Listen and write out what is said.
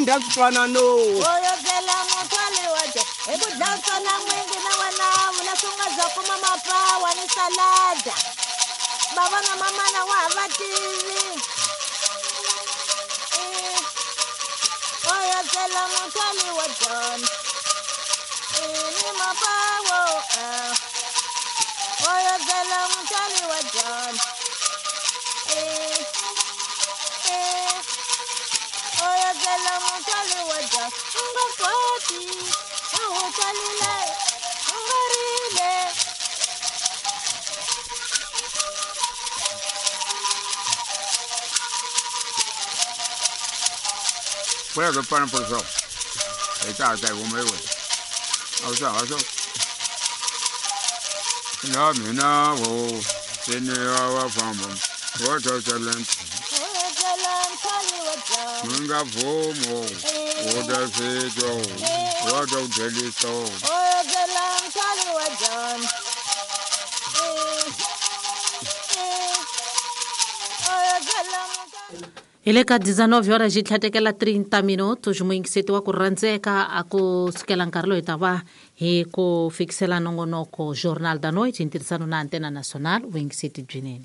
ndha switwanano. Hoyozela muthwali wa dya hi ku dlaya tsona n'wingi na wena vula swi nga za kuma mapawa ni salada bava na mamana wa ha va tivi. Eh, hoyozela muthwali wa dyona ni mapawo eh. Hoyozela muthwali wa dyona. Eh, eh. Oyozela muthwali wa dyona u nga kwati u wu tswalile u nga rile. Pula ke pana por so. Aí tá, tá, vamos aí, ué. Aw sa, aw sa. Na mina wo, sini wa famba. Wa ta talent. Oyozela muthwali wa dyona. Nga vomo. Wo ta sito. Wa ta deliso. Oyozela muthwali wa dyona. Eh, eh. Oyozela muthwali. Hi le ka 19 horas yi tlhatekela 30 minutos muyingiseti wa ku rhandzeka a ku sukela nkarhi lowu hi ta va hi ku fikisela nongonoko Jornal da Noite hi ntirhisano na Antena Nacional. Vuyingiseti byinene.